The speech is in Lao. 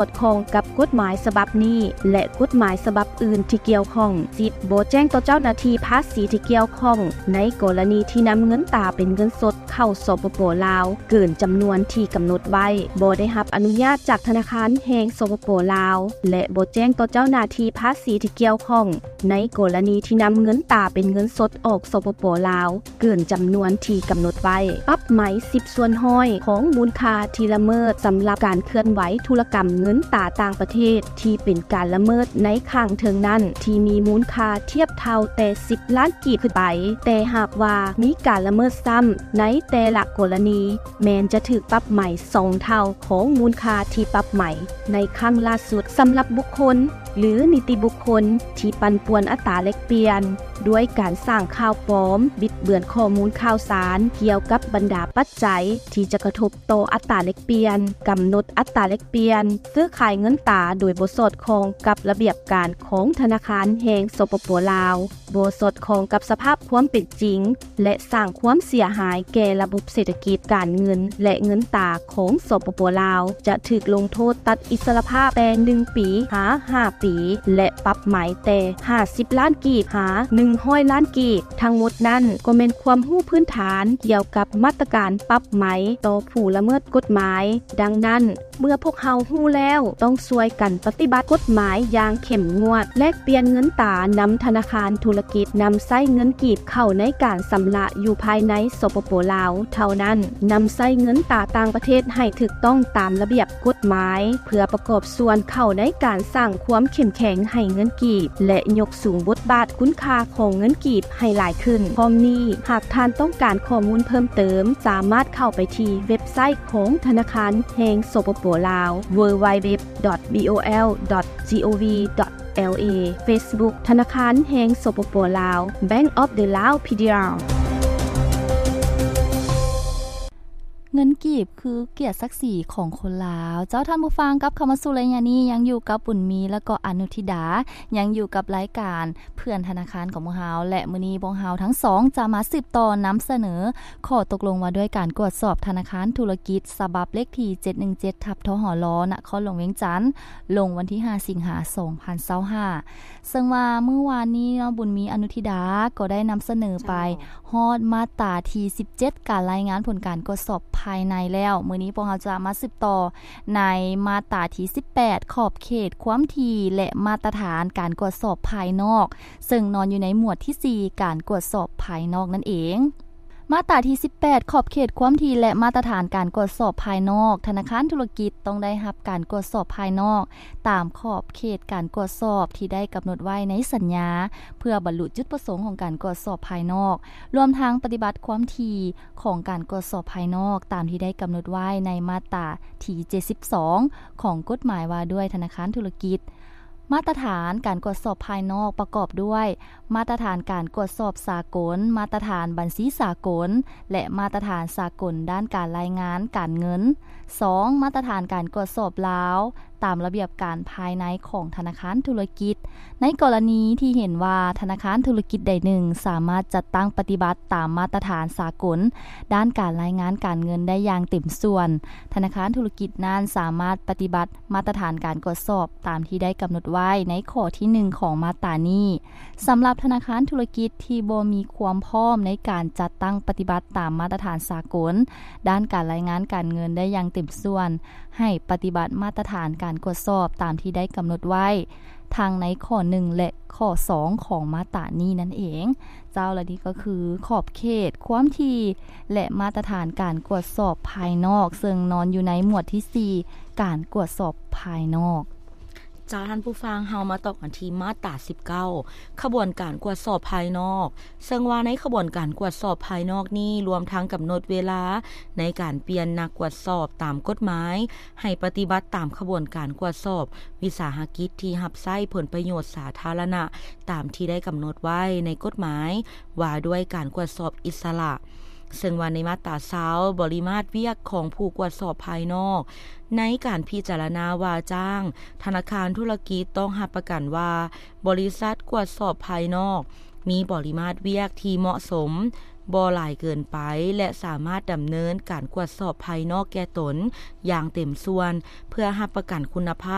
ອດຄ່ອງກັບກົດໝາຍສະບັບນີ້ ແລະ ກົດໝາຍສະບັບອື່ນທີ່ກ່ຽວຂ້ອງ. ສິບ, ບໍ່ແຈ້ງຕໍ່ເຈົ້າໜ້າທີ່ພາສີທີ່ກ່ຽວຂ້ອງ ໃນກໍລະນີທີ່ນຳເງິນຕາເປັນເງິນສົດເຂົ້າ ສປປ ລາວ ເກີນຈຳນວນທີ່ກຳນົດໄວ້, ບໍ່ໄດ້ຮັບອະນຸຍາດຈາກທະນາຄານແຫ່ງ ສປປ ລາວ ແລະ ບໍ່ແຈ້ງຕໍ່ເຈົ້າໜ້າທີ່ພາສີທີ່ກ່ຽວຂ້ອງ ໃນກໍລະນີທີ່ນຳເງິນຕາເປັນເງິນສົດອອກ ສປປ ລາວ ເກີນຈຳນວນທີ່ກຳນົດໄວ້. ປັບໃໝສິບສ່ວນຮ້ອຍຂອງມູນຄ່າທີ່ລະເມີດສຳລັບການເຄື່ອນໄຫວທຸລະກຳເງິນຕາຕ່າງປະເທດທີ່ເປັນການລະເມີດໃນຂ້າງເທິງນັ້ນ ທີ່ມີມູນຄ່າທຽບເທົ່າແຕ່ສິບລ້ານກີບຂຶ້ນໄປ, ແຕ່ຫາກວ່າມີການລະເມີດຊ້ຳໃນແຕ່ລະກໍລະນີ ແມ່ນຈະຖືກປັບໃໝສອງເທົ່າຂອງມູນຄ່າທີ່ປັບໃໝໃນຄັ້ງລ່າສຸດ. ສຳລັບບຸກຄົນ ຫຼື ນິຕິບຸກຄົນທີ່ປັ່ນປ່ວນອັດຕາແລກປ່ຽນ ດ້ວຍການສ້າງຂ່າວປອມ, ບິດເບືອນຂໍ້ມູນຂ່າວສານກ່ຽວກັບບັນດາປັດໄຈທີ່ຈະກະທົບຕໍ່ອັດຕາແລກປ່ຽນ, ກຳນົດອັດຕາແລກປ່ຽນ, ຊື້ຂາຍເງິນຕາໂດຍບໍ່ສອດຄ່ອງກັບລະບຽບການຂອງທະນາຄານແຫ່ງ ສປປ ລາວ, ບໍ່ສອດຄ່ອງກັບສະພາບຄວາມເປັນຈິງ ແລະ ສ້າງຄວາມເສຍຫາຍແກ່ລະບົບເສດຖະກິດ, ການເງິນ ແລະ ເງິນຕາຂອງ ສປປ ລາວ ຈະຖືກລົງໂທດຕັດອິດສະລະພາບແຕ່ໜຶ່ງປີຫາຫ້າປີ ແລະ ປັບໃໝແຕ່ຫ້າສິບລ້ານກີບຫາໜຶ່ງຮ້ອຍລ້ານກີບ. ທັງໝົດນັ້ນກໍແມ່ນຄວາມຮູ້ພື້ນຖານກ່ຽວກັບມາດຕະການປັບໃໝຕໍ່ຜູ້ລະເມີດກົດໝາຍ. ດັ່ງນັ້ນ, ເມື່ອພວກເຮົາຮູ້ແລ້ວ, ຕ້ອງຊ່ວຍກັນປະຕິບັດກົດໝາຍຢ່າງເຂັ້ມງວດ, ແລກປ່ຽນເງິນຕານຳທະນາຄານທຸລະກິດ, ນຳໃຊ້ເງິນກີບເຂົ້າໃນການຊຳລະຢູ່ພາຍໃນ ສປປ ລາວ ເທົ່ານັ້ນ, ນຳໃຊ້ເງິນຕາຕ່າງປະເທດໃຫ້ຖືກຕ້ອງຕາມລະບຽບກົດໝາຍ ເພື່ອປະກອບສ່ວນເຂົ້າໃນການສ້າງຄວາມເຂັ້ມແຂງໃຫ້ເງິນກີບ ແລະ ຍົກສູງບົດບາດຄຸນຄ່າຂອງເງິນກີບໃຫ້ຫຼາຍຂຶ້ນ. ພ້ອມນີ້, ຫາກທ່ານຕ້ອງການຂໍ້ມູນເພີ່ມເຕີມ, ສາມາດເຂົ້າໄປທີ່ເວັບໄຊຂອງທະນາຄານແຫ່ງ ສປປ ລາວ www.bol.gov.la, Facebook ທະນາຄານແຫ່ງ ສປປ ລາວ Bank of the Lao Federal. ເງິນກີບຄືກຽດສັກສີຂອງຄົນລາວ. ເຈົ້າທ່ານຜູ້ຟັງ, ກັບເຂົ້າມາສູ່ໄລຍະນີ້ ຍັງຢູ່ກັບບຸນມີ ແລະ ກໍອະນຸທິດາ, ຍັງຢູ່ກັບລາຍການ ເພື່ອນທະນາຄານຂອງພວກເຮົາ ແລະ ມື້ນີ້ພວກເຮົາທັງສອງຈະມາສືບຕໍ່ນຳສະເໜີຂໍ້ຕົກລົງວ່າດ້ວຍການກວດສອບທະນາຄານທຸລະກິດ ສະບັບເລກທີເຈັດໜຶ່ງເຈັດ ທັບ ທຫລ ນະຄອນຫຼວງວຽງຈັນ ລົງວັນທີຫ້າ ສິງຫາ ສອງພັນຊາວຫ້າ ເຊິ່ງວ່າມື້ວານນີ້ເນາະ ບຸນມີ ອະນຸທິດາ ກໍໄດ້ນຳສະເໜີໄປ ເຈົ້າ ຮອດມາດຕາທີສິບເຈັດ ການລາຍງານຜົນການກວດສອບພາຍໃນແລ້ວ. ມື້ນີ້ພວກເຮົາຈະມາສືບຕໍ່ໃນມາດຕາທີສິບແປດ ຂອບເຂດຄວາມຖີ່ ແລະ ມາດຕະຖານການກວດສອບພາຍນອກ ເຊິ່ງນອນຢູ່ໃນໝວດທີສີ່ ການກວດສອບພາຍນອກນັ້ນເອງ. ມາດຕາທີສິບແປດ ຂອບເຂດຄວາມຖີ່ ແລະ ມາດຕະຖານການກວດສອບພາຍນອກ. ທະນາຄານທຸລະກິດຕ້ອງໄດ້ຮັບການກວດສອບພາຍນອກ ຕາມຂອບເຂດການກວດສອບທີ່ໄດ້ກຳນົດໄວ້ໃນສັນຍາ ເພື່ອບັນລຸຈຸດປະສົງຂອງການກວດສອບພາຍນອກ, ລວມທັງປະຕິບັດຄວາມຖີ່ຂອງການກວດສອບພາຍນອກ ຕາມທີ່ໄດ້ກຳນົດໄວ້ໃນມາດຕາທີເຈັດສິບສອງ ຂອງກົດໝາຍວ່າດ້ວຍທະນາຄານທຸລະກິດ. ມາດຕະຖານການກວດສອບພາຍນອກປະກອບດ້ວຍ ມາດຕະຖານການກວດສອບສາກົນ, ມາດຕະຖານບັນຊີສາກົນ ແລະ ມາດຕະຖານສາກົນດ້ານການລາຍງານການເງິນ. ສອງ, ມາດຕະຖານການກວດສອບລາວ ຕາມລະບຽບການພາຍໃນຂອງທະນາຄານທຸລະກິດ. ໃນກໍລະນີທີ່ເຫັນວ່າທະນາຄານທຸລະກິດໃດໜຶ່ງສາມາດຈັດຕັ້ງປະຕິບັດຕາມມາດຕະຖານສາກົນດ້ານການລາຍງານການເງິນໄດ້ຢ່າງເຕັມສ່ວນ, ທະນາຄານທຸລະກິດນັ້ນສາມາດປະຕິບັດມາດຕະຖານການກວດສອບຕາມທີ່ໄດ້ກຳນົດໄວ້ໃນຂໍ້ທີໜຶ່ງຂອງມາດຕານີ້. ສຳລັບທະນາຄານທຸລະກິດທີ່ບໍ່ມີຄວາມພ້ອມໃນການຈັດຕັ້ງປະຕິບັດຕາມມາດຕະຖານສາກົນດ້ານການລາຍງານການເງິນໄດ້ຢ່າງເຕັມສ່ວນ, ໃຫ້ປະຕິບັດມາດຕະຖານການກວດສອບຕາມທີ່ໄດ້ກຳນົດໄວ້ ທັງໃນຂໍ້ໜຶ່ງ ແລະ ຂໍ້ສອງຂອງມາດຕານີ້ນັ້ນເອງ. ເຈົ້າ ແລະ ນີ້ກໍຄືຂອບເຂດ, ຄວາມຖີ່ ແລະ ມາດຕະຖານການກວດສອບພາຍນອກ, ເຊິ່ງນອນຢູ່ໃນໝວດທີສີ່ ການກວດສອບພາຍນອກ. ເຈົ້າ ທ່ານຜູ້ຟັງ, ເຮົາມາຕໍ່ກັນທີ່ມາດຕາສິບເກົ້າ ຂະບວນການກວດສອບພາຍນອກ, ເຊິ່ງວ່າໃນຂະບວນການກວດສອບພາຍນອກນີ້ ລວມທັງກຳນົດເວລາໃນການປ່ຽນນັກກວດສອບຕາມກົດໝາຍ ໃຫ້ປະຕິບັດຕາມຂະບວນການກວດສອບວິສາຫະກິດທີ່ຮັບໃຊ້ຜົນປະໂຫຍດສາທາລະນະ ຕາມທີ່ໄດ້ກຳນົດໄວ້ໃນກົດໝາຍວ່າດ້ວຍການກວດສອບອິດສະຫຼະ. ເຊິ່ງວ່າໃນມາດຕາຊາວ ບໍລິມາດວຽກຂອງຜູ້ກວດສອບພາຍນອກ ໃນການພິຈາລະນາວ່າຈ້າງ, ທະນາຄານທຸລະກິດຕ້ອງຮັບປະກັນວ່າ ບໍລິສັດກວດສອບພາຍນອກ ມີປະລິມາດວຽກທີ່ເໝາະສົມ, ບໍ່ຫຼາຍເກີນໄປ ແລະ ສາມາດດຳເນີນການກວດສອບພາຍນອກແກ່ຕົນຢ່າງເຕັມສ່ວນ ເພື່ອຮັບປະກັນຄຸນນະພາບ